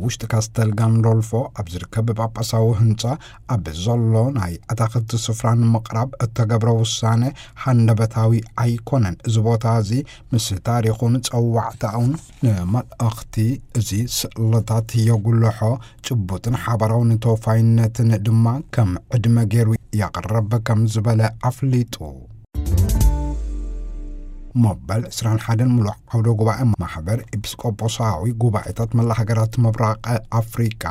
ውሽጢ ካስተል ጋንዶልፎ ኣብ ዝርከብ ጳጳሳዊ ህንጻ ኣብ ዘሎ ናይ ኣታኽልቲ ስፍራ ንምቕራብ እተገብረ ውሳነ ሃንደበታዊ ኣይኮነን። እዚ ቦታ እዚ ምስ ታሪኹን ጸዋዕታኡን ንመልእኽቲ እዚ ስእልታት የጉልሖ፣ ጭቡጥን ሓባራዊ ንተወፋይነትን ድማ ከም ዕድመ ገይሩ ያቕረብ ከም ዝበለ ኣፍሊጡ። መበል ዕስራን ሓደን ምሉእ ዓውደ ጉባኤ ማሕበር ኤጲስቆጶሳዊ ጉባኤታት መላ ሃገራት ምብራቕ ኣፍሪቃ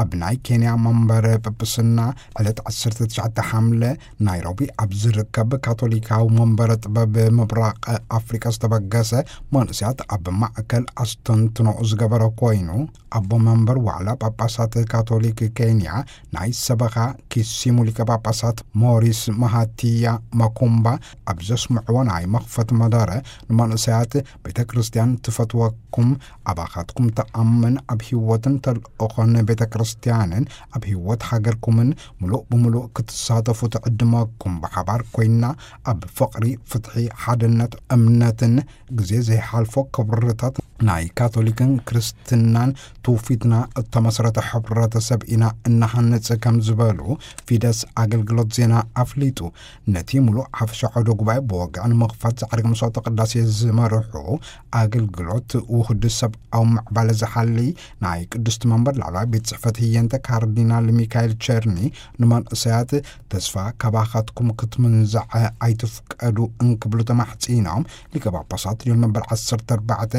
ኣብ ናይ ኬንያ መንበረ ጵጵስና ዕለት ዓሰርተ ትሽዓተ ሓምለ ናይሮቢ ኣብ ዝርከብ ካቶሊካዊ መንበረ ጥበብ ምብራቕ ኣፍሪቃ ዝተበገሰ መንእሰያት ኣብ ማእከል ኣስተንትኖ ዝገበረ ኮይኑ፣ ኣቦ መንበር ዋዕላ ጳጳሳት ካቶሊክ ኬንያ ናይ ሰበኻ ኪሲሙ ሊቀ ጳጳሳት ሞሪስ ማሃቲያ ማኩምባ ኣብ ዘስምዕዎ ናይ መኽፈት መደረ፣ ንመንእሰያት ቤተ ክርስቲያን ትፈትወኩም፣ ኣባኻትኩም ትኣምን፣ ኣብ ህይወትን ተልእኾን ቤተ ክርስቲያንን ኣብ ህይወት ሃገርኩምን ምሉእ ብምሉእ ክትሳተፉ ትዕድመኩም። ብሓባር ኮይና ኣብ ፍቕሪ፣ ፍትሒ፣ ሓድነት፣ እምነትን ግዜ ዘይሓልፎ ክብርታት ናይ ካቶሊክን ክርስትናን ትውፊትና እተመስረተ ሕብረተሰብ ኢና እናሃንጽ ከም ዝበሉ ፊደስ ኣገልግሎት ዜና ኣፍሊጡ። ነቲ ምሉእ ሓፈሻ ዓውደ ጉባኤ ብወግዒ ንምኽፋት ዛዕርግ መስዋዕተ ቅዳሴ ዝመርሑ ኣገልግሎት ውህድ ሰብኣዊ ምዕባለ ዝሓሊ ናይ ቅዱስ መንበር ላዕለዋይ ቤት ጽሕፈት ህየንተ ካርዲናል ሚካኤል ቸርኒ ንመንእሰያት ተስፋ ካባኻትኩም ክትምንዛዕ ኣይትፍቀዱ እንክብሉ ተማሕጺኖም። ሊቀ ጳጳሳት ሊዮን መበል ዓሰርተ ኣርባዕተ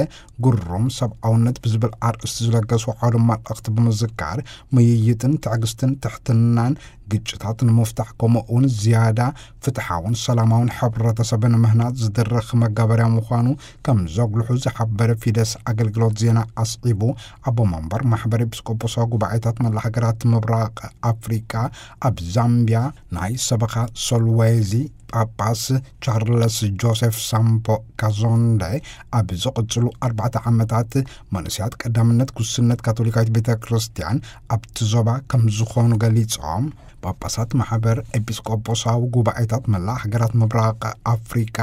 ግሩም ሰብኣውነት ብዝብል ኣርእስቲ ዝለገሱ ዓውደ መልእኽቲ ብምዝካር፣ ምይይጥን ትዕግስትን ትሕትናን ግጭታት ንምፍታሕ፣ ከምኡ እውን ዝያዳ ፍትሓውን ሰላማውን ሕብረተሰብ ንምህናጽ ዝድርኽ መጋበርያ ምዃኑ ከም ዘጉልሑ ዝሓበረ ፊደስ ኣገልግሎት ዜና ኣስዒቡ፣ ኣቦ መንበር ማሕበር ኤጲስቆጶሳዊ ጉባኤታት መላ ሃገራት ምብራቕ ኣፍሪቃ ኣብ ዛምቢያ ናይ ሰበኻ ሶልዌዚ ጳጳስ ቻርለስ ጆሴፍ ሳምፖ ካዞንደ ኣብ ዝቕጽሉ ኣርባዕተ ዓመታት መንእሰያት ቀዳምነት ጉስነት ካቶሊካዊት ቤተ ክርስቲያን ኣብቲ ዞባ ከም ዝኾኑ ገሊጾም። ጳጳሳት ማሕበር ኤጲስቆጶሳዊ ጉባኤታት መላእ ሃገራት ምብራቕ ኣፍሪቃ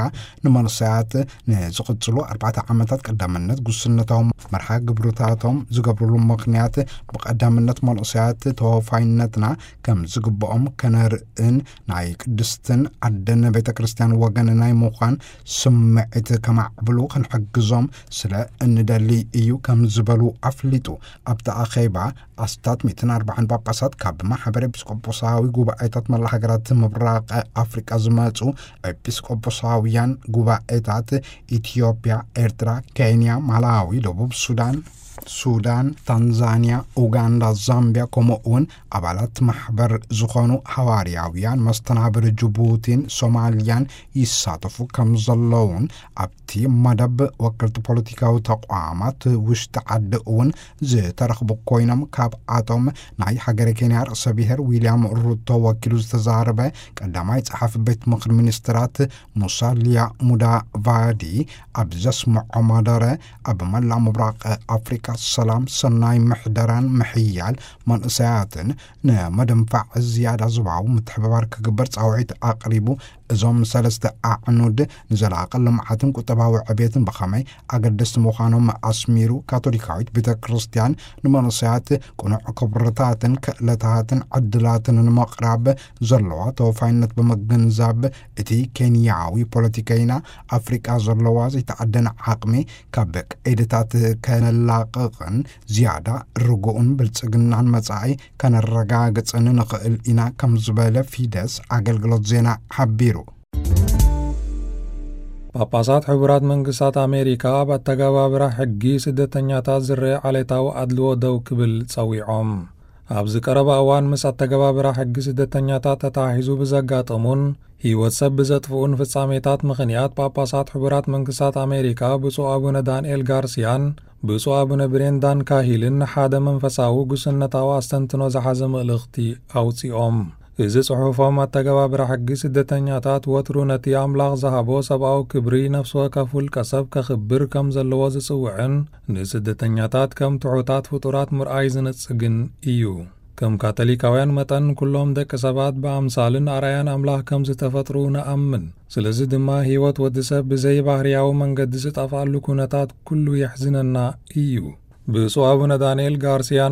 ንመንእሰያት ንዝቕጽሉ ኣርባዕተ ዓመታት ቀዳምነት ጉስነታዊ መርሃ ግብርታቶም ዝገብርሉ ምኽንያት ብቐዳምነት መንእሰያት ተወፋይነትና ከም ዝግብኦም ከነርእን ናይ ቅድስትን ዓደን ቤተ ክርስቲያን ወገን ናይ ምዃን ስምዒት ከማዕብሉ ክንሕግዞም ስለ እንደሊ እዩ ከም ዝበሉ ኣፍሊጡ። ኣብቲ ኣኼባ ኣስታት ሚእትን ኣርባዓን ጳጳሳት ካብ ማሕበር ኤጲስቆጶሳዊ ጉባኤታት መላ ሃገራት ምብራቕ ኣፍሪቃ ዝመጹ ኤጲስቆጶሳውያን ጉባኤታት ኢትዮጵያ፣ ኤርትራ፣ ኬንያ፣ ማላዊ፣ ደቡብ ሱዳን፣ ሱዳን፣ ታንዛንያ፣ ኡጋንዳ፣ ዛምቢያ፣ ከምኡ እውን ኣባላት ማሕበር ዝኾኑ ሃዋርያውያን መስተናብር ጅቡቲን ሶማልያን ይሳተፉ ከም ዘለውን፣ ኣብቲ መደብ ወከልቲ ፖለቲካዊ ተቋማት ውሽጢ ዓዲ እውን ዝተረኽቡ ኮይኖም፣ ካብኣቶም ናይ ሃገረ ኬንያ ርእሰ ብሔር ዊልያም ሩቶ ወኪሉ ዝተዛረበ ቀዳማይ ጸሓፊ ቤት ምኽሪ ሚኒስትራት ሙሳልያ ሙዳቫዲ ኣብ ዘስምዖ መደረ፣ ኣብ መላእ ምብራቕ ኣፍሪቃ ሰላም፣ ሰናይ ምሕደራን ምሕያል መንእሰያትን ንምድንፋዕ ዝያዳ ዞባዊ ምትሕብባር ክግበር ጻውዒት ኣቕሪቡ። እዞም ሰለስተ ኣዕኑድ ንዘላቒ ልምዓትን ቁጠባዊ ዕቤትን ብኸመይ ኣገደስቲ ምዃኖም ኣስሚሩ፣ ካቶሊካዊት ቤተ ክርስቲያን ንመንእሰያት ቅኑዕ ክብርታትን ክእለታትን ዕድላትን ንምቕራብ ዘለዋ ተወፋይነት ብምግንዛብ፣ እቲ ኬንያዊ ፖለቲከይና ኣፍሪቃ ዘለዋ ዘይተዓደነ ዓቕሚ ካብ ቀይድታት ከነላቕቕን ዝያዳ ርጉእን ብልጽግናን መጻኢ ከነረጋግጽን ንኽእል ኢና ከም ዝበለ ፊደስ ኣገልግሎት ዜና ሓቢሩ። ጳጳሳት ሕቡራት መንግስታት ኣሜሪካ ኣብ ኣተገባብራ ሕጊ ስደተኛታት ዝረአ ዓሌታዊ ኣድልዎ ደው ክብል ጸዊዖም። ኣብዚ ቀረባ እዋን ምስ ኣተገባብራ ሕጊ ስደተኛታት ተተሓሒዙ ብዘጋጠሙን ህይወት ሰብ ብዘጥፍኡን ፍጻሜታት ምኽንያት፣ ጳጳሳት ሕቡራት መንግስታት ኣሜሪካ ብፁዕ ኣቡነ ዳንኤል ጋርሲያን ብፁዕ ኣቡነ ብሬንዳን ካሂልን ሓደ መንፈሳዊ ጉስነታዊ ኣስተንትኖ ዝሓዘ መልእኽቲ ኣውጺኦም። እዚ ጽሑፎም፣ ኣተገባብራ ሕጊ ስደተኛታት ወትሩ ነቲ ኣምላኽ ዝሃቦ ሰብኣዊ ክብሪ፣ ነፍሲ ወከፍ ውልቀ ሰብ ከኽብር ከም ዘለዎ ዝጽውዕን ንስደተኛታት ከም ትሑታት ፍጡራት ምርኣይ ዝነጽግን እዩ። ከም ካቶሊካውያን መጠን፣ ኩሎም ደቂ ሰባት ብኣምሳልን ኣርኣያን ኣምላኽ ከም ዝተፈጥሩ ንኣምን። ስለዚ ድማ፣ ህይወት ወዲ ሰብ ብዘይ ባህርያዊ መንገዲ ዝጠፍኣሉ ኩነታት ኩሉ የሕዝነና እዩ። ብፁዕ ኣቡነ ዳንኤል ጋርሲያ